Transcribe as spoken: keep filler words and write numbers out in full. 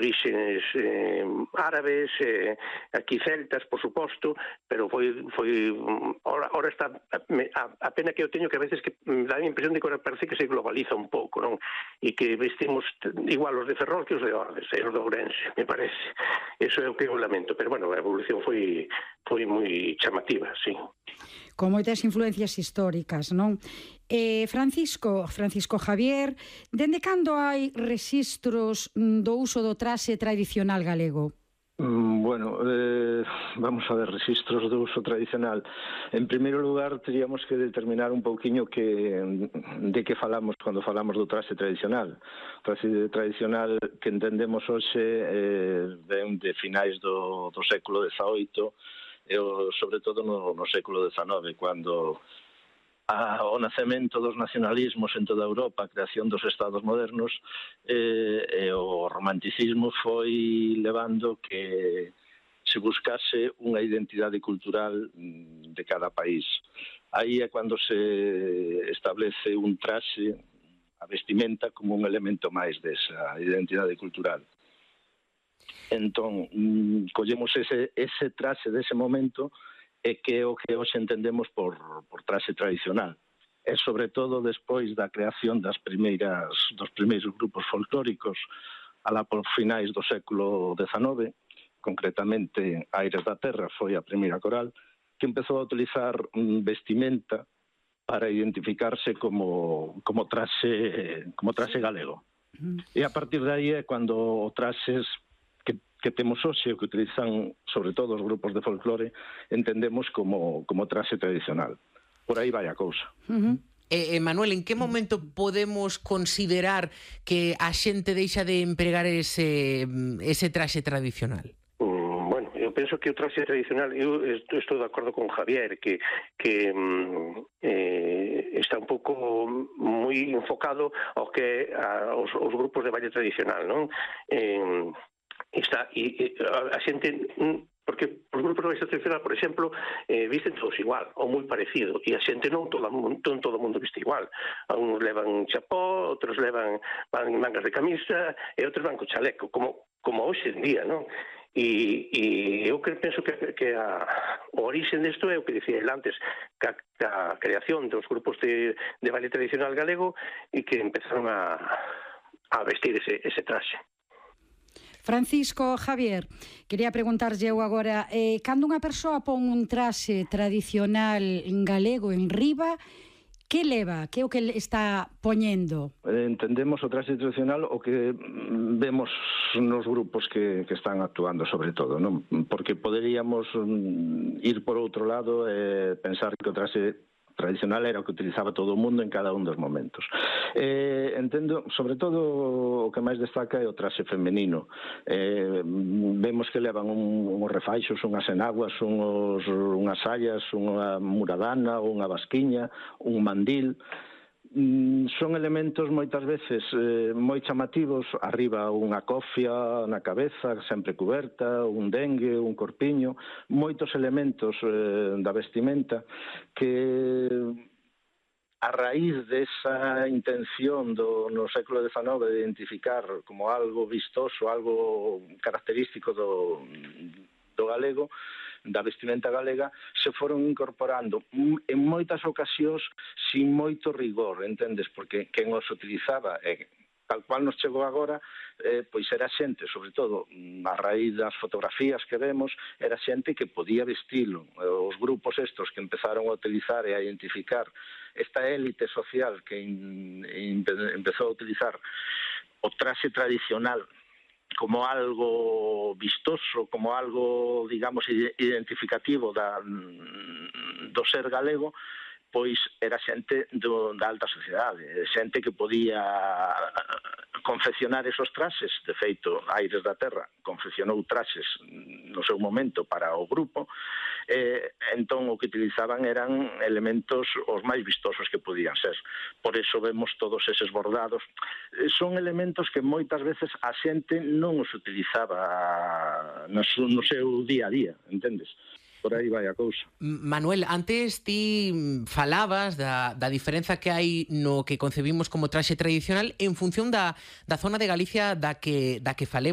orixes eh, árabes, eh, aquí celtas, por suposto, pero foi, foi ora, ora está, a, a pena que eu teño que a veces que me dá a impresión de que ora parece que se globaliza un pouco, non? E que vestimos igual os de Ferrol que os de Ordes, e os de Ourense, me parece. Eso é o que eu lamento, pero bueno, a evolución foi, foi moi chamativa, sí. Con moitas influencias históricas, non? Eh, Francisco, Francisco Javier, dende cando hai rexistros do uso do traxe tradicional galego? Mm, bueno, eh, vamos a ver, rexistros do uso tradicional. En primeiro lugar, teríamos que determinar un pouquiño que, de que falamos cando falamos do traxe tradicional. O traxe tradicional que entendemos hoxe eh, ven de finais do, do século dezaoito, e o, sobre todo no, no século dezanove, cando a, o nacemento dos nacionalismos en toda Europa, a creación dos estados modernos, eh, e o romanticismo foi levando que se buscase unha identidade cultural de cada país. Aí é cando se establece un traxe, a vestimenta, como un elemento máis desa identidade cultural. Entón, collemos ese, ese traxe dese momento e que é o que hoxe entendemos por, por traxe tradicional. E sobre todo despois da creación das primeiras, dos primeiros grupos folclóricos alá por finais do século dezanove, concretamente Aires da Terra foi a primeira coral, que empezou a utilizar vestimenta para identificarse como, como traxe, como traxe galego. E a partir de aí é cando o traxes que temos hoxe, o que utilizan sobre todo os grupos de folclore, entendemos como, como traxe tradicional. Por aí vai a cousa. Uh-huh. Eh, eh, Manuel, en que momento podemos considerar que a xente deixa de empregar ese, ese traxe tradicional? Mm, bueno, eu penso que o traxe tradicional, eu estou de acordo con Javier, que, que eh, está un pouco moi enfocado ao que a, aos, aos grupos de baile tradicional, non? Eh, Está, e, e a xente, porque os grupos de baile tradicional, por exemplo, eh, visten todos igual, ou moi parecido, e a xente non todo, non todo o mundo viste igual. Uns levan chapó, outros levan van mangas de camisa, e outros van co chaleco, como, como hoxe en día, non? E, e eu que penso que, que a, o origen desto é o que dicía el antes, que a, que a creación dos grupos de, de baile tradicional galego e que empezaron a, a vestir ese, ese traxe. Francisco Javier, quería preguntarlle eu agora, eh, cando unha persoa pon un traxe tradicional en galego en riba, que leva? Que é o que está poñendo? Entendemos o traxe tradicional o que vemos nos grupos que, que están actuando sobre todo, non? Porque poderíamos ir por outro lado e pensar que o traxe tradicional era o que utilizaba todo o mundo en cada un dos momentos. Eh, entendo, sobre todo, o que máis destaca é o traxe femenino. Eh, vemos que levan un, uns refaixos, unhas enaguas, uns, unhas sallas, unha muradana, unha basquiña, un mandil. Son elementos moitas veces eh, moi chamativos, arriba unha cofia na cabeza, sempre cuberta, un dengue, un corpiño, moitos elementos eh, da vestimenta que a raíz desa intención do, no século dezanove de identificar como algo vistoso, algo característico do, do galego, da vestimenta galega, se foron incorporando en moitas ocasións sin moito rigor, entendes? Porque quen os utilizaba, e tal cual nos chegou agora, eh, pois era xente, sobre todo a raíz das fotografías que vemos, era xente que podía vestilo. Os grupos estos que empezaron a utilizar e a identificar esta élite social que in, in, empezou a utilizar o traxe tradicional como algo vistoso, como algo, digamos, identificativo da, do ser galego, pois era xente do, da alta sociedade, xente que podía confeccionar esos traxes. De feito, Aires da Terra confeccionou traxes no seu momento para o grupo, e entón o que utilizaban eran elementos os máis vistosos que podían ser. Por eso vemos todos eses bordados. Son elementos que moitas veces a xente non os utilizaba no seu día a día, entendes? Por aí vai a cousa. Manuel, antes ti falabas da, da diferenza que hai no que concebimos como traxe tradicional en función da, da zona de Galicia da que, da que falemos.